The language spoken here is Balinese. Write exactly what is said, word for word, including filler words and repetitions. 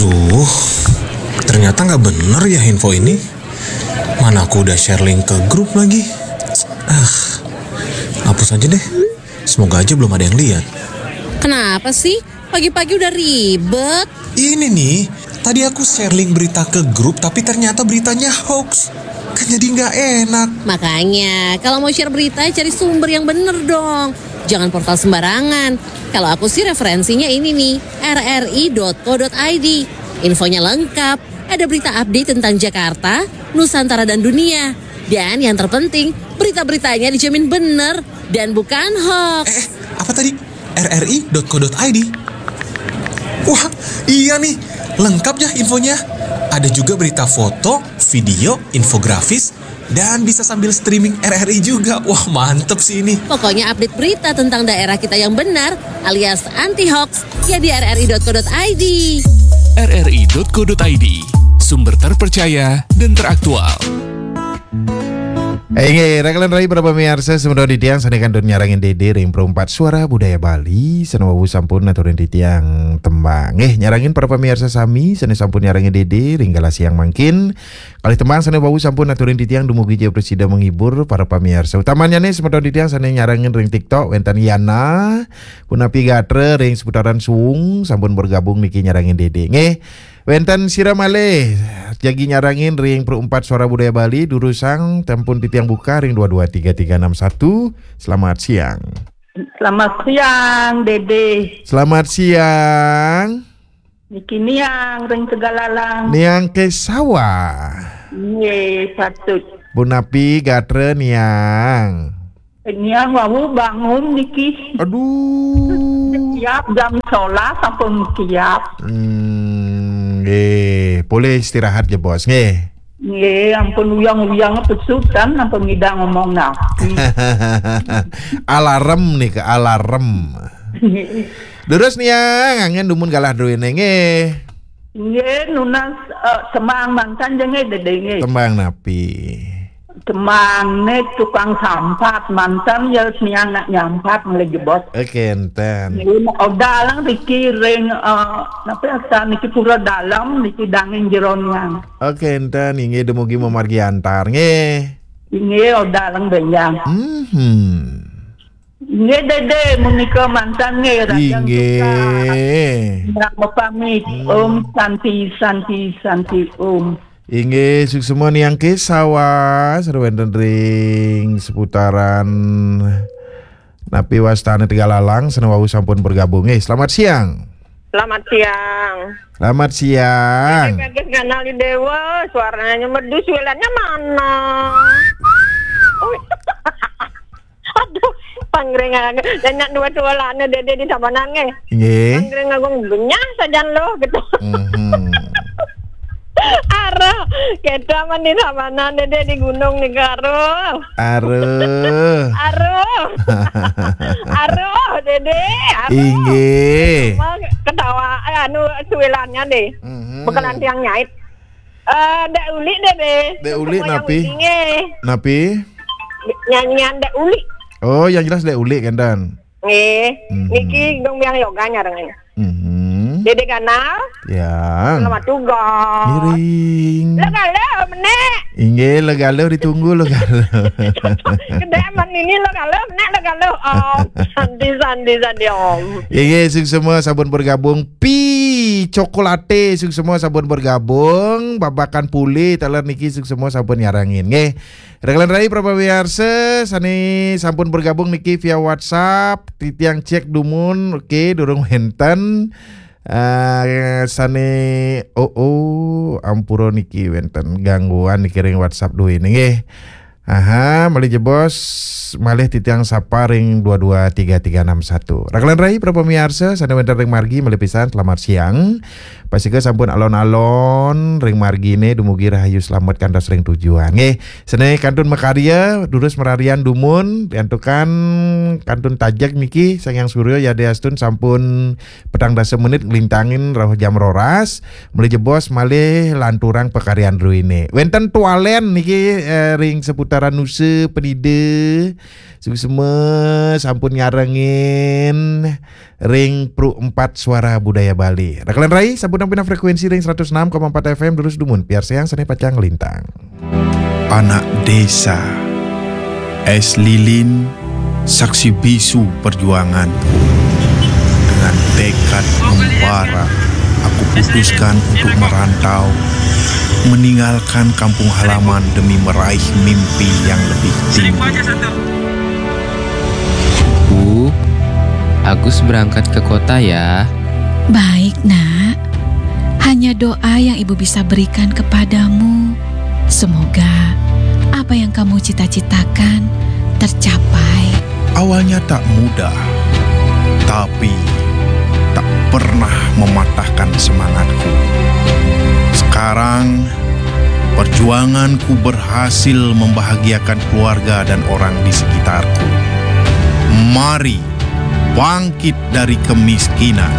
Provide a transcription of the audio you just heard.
Uh, ternyata nggak bener ya info ini. Mana aku udah share link ke grup lagi. Ah, hapus aja deh. Semoga aja belum ada yang lihat. Kenapa sih? Pagi-pagi udah ribet. Ini nih, tadi aku share link berita ke grup, tapi ternyata beritanya hoax. Kan jadi nggak enak. Makanya, kalau mau share berita, cari sumber yang bener dong. Jangan portal sembarangan. Kalau aku sih referensinya ini nih, R R I dot co dot I D. Infonya lengkap, ada berita update tentang Jakarta, Nusantara dan dunia. Dan yang terpenting, berita-beritanya dijamin bener dan bukan hoax. Eh, eh, apa tadi? R R I dot co dot I D. Wah, iya nih, lengkap ya infonya. Ada juga berita foto, video, infografis, dan bisa sambil streaming R R I juga. Wah, mantep sih ini. Pokoknya update berita tentang daerah kita yang benar alias anti hoax ya di R R I dot co dot I D. R R I dot co dot I D, sumber terpercaya dan teraktual. Inggih, raghanan rayi para pamiarsa, semeton titiang sané kantun nyarengin Dédé ring Perumpat Suara Budaya Bali, sané wau sampun aturin titiang tembang. Nggih, nyarengin para pamiarsa sami sané sampun nyarengin Dédé ring galah siang mangkin. Kalih tembang sané wau sampun aturin titiang dumugi ja prasida menghibur para pamiarsa. Utamannyané semeton titiang sané nyarengin ring TikTok, wénten Yana, punapi gatra ring seputaran Suwung, sampun bergabung niki nyarengin Dédé. Nggih. Wénten sira malih jagi nyarengin ring Perumpat Suara Budaya Bali, durusang sampun titiang buka ring dua dua tiga tiga enam satu. Selamat siang. Selamat siang, Dédé. Selamat siang. Niki Niang ring Tegalalang. Niang Kesawa. Nggih, patut. Punapi gatra Niang? Niang wau bangun niki. Aduh. Kiap jam sebelas sampun kiap. Hmm, nggih, polih istirahat ya, Bos, nggih. Nggih, ampun uyang-uyang pesutan ampun ngidang ngomong napi. Alarm nih ke alarm. Durus Niang, anggén dumun galah druéné nggih. Nggih, nunas eh, tembang mangkin ja nggih Dédé nggih. Tembang napi? Tembangné tukang sampat, manten ya Niang nak nyampat ngalih jebos. Oké, énten. Nggih, odalang riki ring eh, napi asal niki Pura Dalem niki dangin jero Niang. Oké, énten, inggih dumugi mamargi antar nggih. Inggih, odalang benjang. Mhm. Nggih Dédé, menika manten nggih Rajan Inggih. Suka. Pamit. Om Santi Santi Santi Om. Inggih, suksma Niang Kesawa, sareng wénten ring seputaran napi wastané Tegalalang, sané wau sampun bergabung. Nggih, selamat siang. Selamat siang. Selamat siang. Bagus nganali Dewa, suaranya merdu, suelanya mana? Aduh, pangring aja. Dan nak dua suelanya Dédé di Tabanan nggih. Nggih. Pangring agung benyah sajan loh gitu. Mhm. Aduh, kita mah di Tabanan Dédé di gunung nih, aduh. Aduh. Aduh. Aduh, Dédé. Aduh. Inggih. Wah, ketawa eh, anu suelanya deh. Mhm. Bekalan tiang nyait. Eh, Dek Uli deh, deh. Dek Uli Semua yang napi? Uli, nggih. Napi? Nyanyian Dek Uli. Oh, yang jelas Dek Uli kenten. Nggih. Mhm. Niki Gong Biang Yoga nyarengin. Mhm. Dédé Ganal. Ya. Selamat tugas. Miring. Lo kalau menek. Inggih, legaluh ditunggu legaluh. Kedai aman ini lo kalau menek lo kalau. Oh, santi santi santi om. Inggih, suksma sampun bergabung. Pi Cokolate suksma sampun bergabung. Babakan Pule taler niki suksma sampun nyarengin. Nggih. Raghanan rayi para pamiarsa sané sampun bergabung niki via WhatsApp, titiang cek dumun, oké, durung wénten. Eh, sané oh, oh, ampura niki wénten gangguan niki ring WhatsApp duwé nggih. Aha, malih jebos, malih titiang sapa ring dua dua tiga tiga enam satu. Raghanan rayi para pamiarsa sané wénten ring margi malih pisan selamat siang. Pastika sampun alon-alon ring marginé dumugi rahayu slamet kantos ring tujuan. Nggih, sané kantun makarya durus mararian dumun, riantukan kantun tajeg niki Sang Hyang Surya yadiastun sampun petang dasa menit nglintangin rauh jam roras, malih jebos malih lanturang pakaryan druéné. Wénten tualén niki eh, ring seputar Ranuse, penida, suksma sampun nyarengin ring Pro empat Suara Budaya Bali. Rakelan rai, sampun nampi frekuensi ring seratus enam koma empat F M, durus dumun piarsayang sane pacang nglintang. Anak desa, es lilin, saksi bisu perjuanganku. Dengan tekad membara, aku putuskan untuk merantau, meninggalkan kampung halaman demi meraih mimpi yang lebih tinggi. Bu, Agus berangkat ke kota ya. Baik, Nak. Hanya doa yang Ibu bisa berikan kepadamu. Semoga apa yang kamu cita-citakan tercapai. Awalnya tak mudah, tapi tak pernah mematahkan semangatku. Sekarang, perjuanganku berhasil membahagiakan keluarga dan orang di sekitarku. Mari bangkit dari kemiskinan.